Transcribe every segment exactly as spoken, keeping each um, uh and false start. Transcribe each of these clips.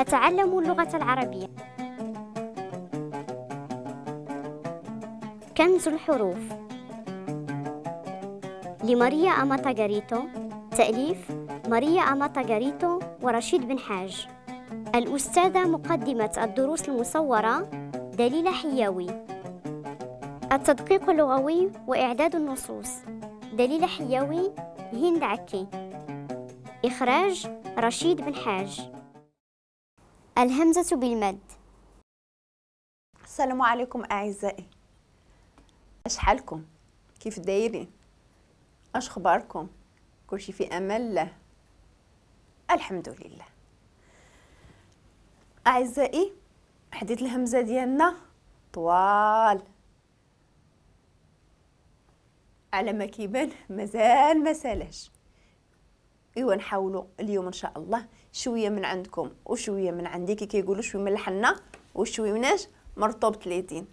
أتعلم اللغة العربية. كنز الحروف لماريا أماتاغاريتو، تأليف ماريا أماتاغاريتو ورشيد بن حاج. الأستاذة مقدمة الدروس المصورة دليلة حياوي. التدقيق اللغوي وإعداد النصوص دليلة حياوي، هند عكي. إخراج رشيد بن حاج. الهمزة بالمد. السلام عليكم أعزائي، اش حالكم؟ كيف دايرين؟ اش اخباركم؟ كلشي في امان الله، الحمد لله. اعزائي، حديث الهمزة ديالنا طوال على ما كيبان، مازال ما سالاش. ايوا نحاولوا اليوم ان شاء الله شوية من عندكم وشوية من عندي، كي كيقولوا شوية من الحنة وشوية مناش مرطوب ثلاثين،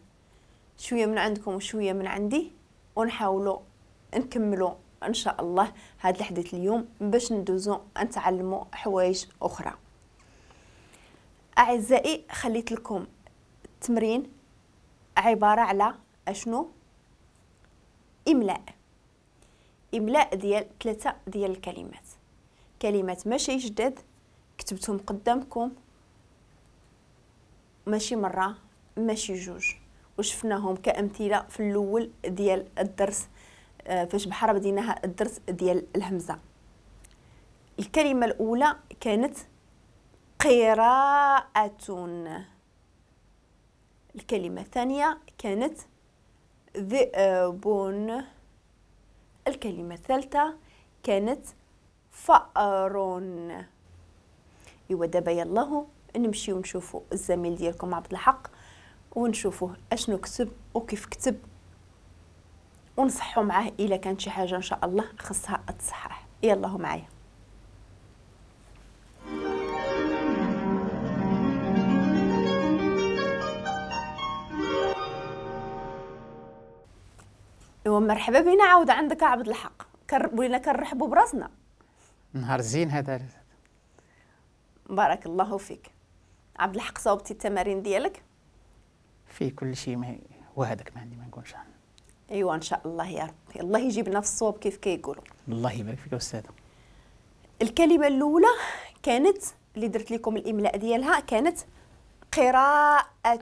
شوية من عندكم وشوية من عندي، ونحاولوا نكملوا ان شاء الله هذا الحديث اليوم باش ندوزو نتعلموا حوايج اخرى. اعزائي، خليت لكم التمرين عبارة على اشنو؟ املاء، املاء ديال ثلاثة ديال الكلمات، كلمات ماشي جداد كتبتهم قدامكم، ماشي مرة ماشي جوج، وشفناهم كأمثلة في الأول ديال الدرس فاش بحال بديناها الدرس ديال الهمزة. الكلمة الأولى كانت قراءة، الكلمة الثانية كانت ذئب، الكلمة الثالثة كانت فأر. إيوا دابا يلاه نمشيو نشوفو الزميل ديالكم عبد الحق ونشوفوه اشنو كتب وكيف كتب، ونصحوا معاه الا كانت شي حاجة ان شاء الله خصها تصحح. يلا معايا. ايوا مرحبا بينا عاود عندك عبد الحق. ولينا كنرحبوا براسنا. نهار زين هذا. بارك الله فيك عبد الحق. صوبتي التمارين ديالك؟ في كل شيء ما وهذاك ما عندي ما نقولش. ايوا ان شاء الله يا ربي، الله يجيبنا في الصواب كيف كيقولوا. الله يبارك فيك استاذه. الكلمة الاولى كانت اللي درت لكم الاملاء ديالها كانت قراءة.